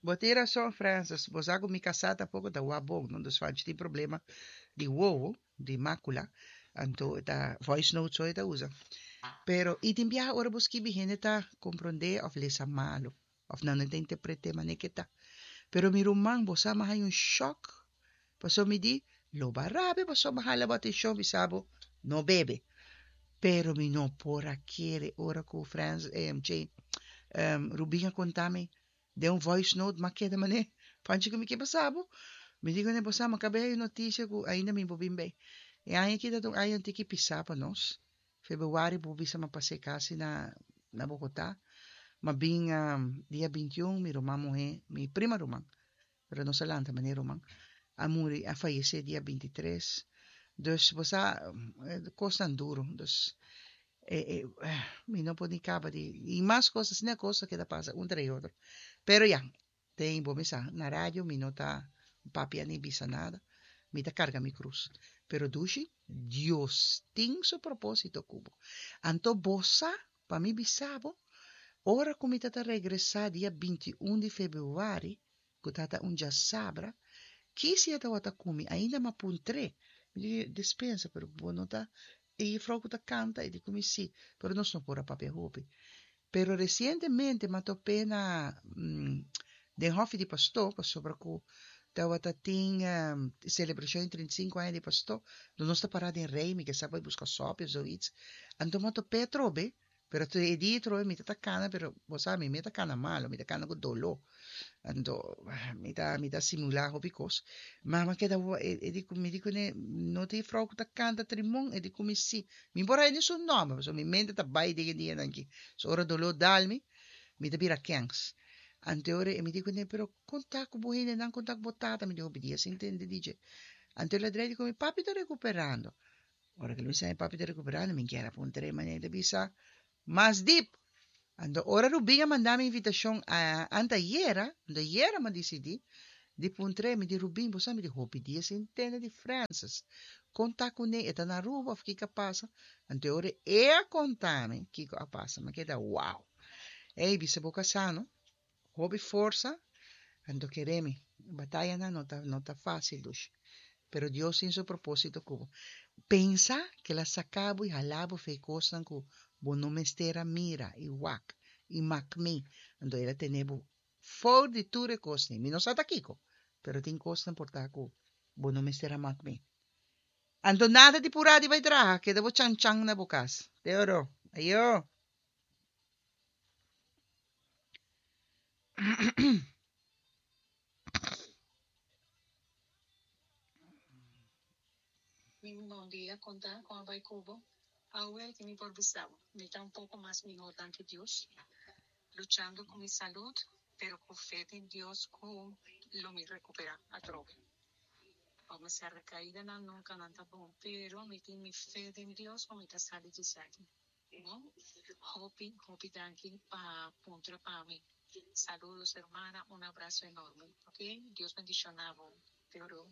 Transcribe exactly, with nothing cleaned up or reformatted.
Bo tin rason, Francis. Bo sa ku mi kasá tampoko ta wak bon, no? Dus Fanchi tin problema di wowo, di makula, anto e ta voice note so e ta usa. Pero i tin biaha ora bo skibi hende ta komprondé òf lesa malu, òf nan no ta interpret'é manera ke ta. Pero mi ruman, bo sa mi a haña un shòk, pasobra mi di, lo bo a rabia pasobra mi a hala bo atenshon bisa bo no bebe. Pero mi no por a kere ora ku Frans, che, Rubin a konta mi den un voice note, m'a keda manera, Panchi ku mi ke pasa bo? Mi di kuné, bo sa, mi a kaba e notisia ku ainda mi por bin bei. E aña aki ta un aña un tiki pisá pa nos. Februari bo bisa m'a pas'é kasi na na Bogotá. M'a bin dia binti un, mi ruman muhé, mi prima ruman, pero nos a lanta manera ruman, a muri, a fayesé dia binti tres. Dus bo sa, kosnan duru. Dus e e mi no por ni kaba di, i mas kos, asina kos a keda pasa un tras otro. Pero ya, den bo mesa, na radio mi no ta papia ni bisa nada, mi ta karga mi krus. Pero dushi, Dios tin su propósito ku bo. Anto bo sa, pa mi bisa bo, ora ku mi ta ta regresá dia binti un di febrüari, ku ta ta un djasabra, kisi e tabata ku mi, ainda m'a puntr'é, mi di, dispensa, pero bo no ta e jufrou ku ta kanta? E di ku mi sí, pero nos no por a papia hopi. Pero resientemente m'a top'é na den hòfi di pastó, pasobra ku tabata tin selebrashon di trinta i sinku aña di pastó, donde nos ta pará den rei, mi ke sa bai buska sòpi of zoiets. Anto m'a top'é atrobe, pero e dia atrobe mi ta ta kana, pero bo sa mi mi ta kana malo, mi ta kana ku doló. Anto mi ta mi ta simulá hopi kos. Ma m'a keda e di ku mi di kuné, no ta e frou ku ta kanta trimon? E di ku mi sí. Mi por haña ni su nòmber, pasobra mi mente ta bai den e dianan aki. So ora doló dal mi, mi ta bira kèns. Anto ora e mi di kuné, pero kon ta ku bo hendenan, kon ta ku bo tata? Mi di hopi dia sin tende di dje. Anto el a drei di ku mi, papi ta rekuperando. Ora ku el bisa mi papi ta rekuperando, mi kier a puntra e manera, el ta bisa mas dip. Anto ora Rubin a manda mi invitashon a antayera, anto ayera mi a disidí di puntra e, mi di, Rubin, bo sa mi di hopi dia sin tende di Francis. Kon ta kuné? E ta na Aruba òf kiko a pasa? Anto ora e a konta mi kiko a pasa, mi a keda wow. Ey, bisa bo kasá no, hopi forsa, anto kere mi, batayanan no ta no ta fásil dushi, pero Dios tin su propósito ku bo. Pensa ku el a saka bo i hala bo for e kosnan ku bo no mester a mira i wak i mak mi, anto el a tene bo for di tur e kosnan. Mi no sa ta kiko, pero tin kosnan por ta ku bo no mester a mak mi. Anto nada di purá di bai traha, keda bo chan chan na bo kas. Te oro. Ayo. Mi bon dia konta kon a bai ku bo. Awel ki mi por bisa bo, mi ta un poko mas mihó danki Dios, luchando ku mi salud, pero ku fe den Dios ku lo mi rekuperá atrobe. Ome sa rekaidanan nunka nan ta bon, pero mi tin mi fe den Dios ku mi ta sali di esaki. No? Hopi, hopi danki pa puntra pa mi. Saludos hermana, un abrazo enorme. Ok? Dios bendiciona bo. Te oro.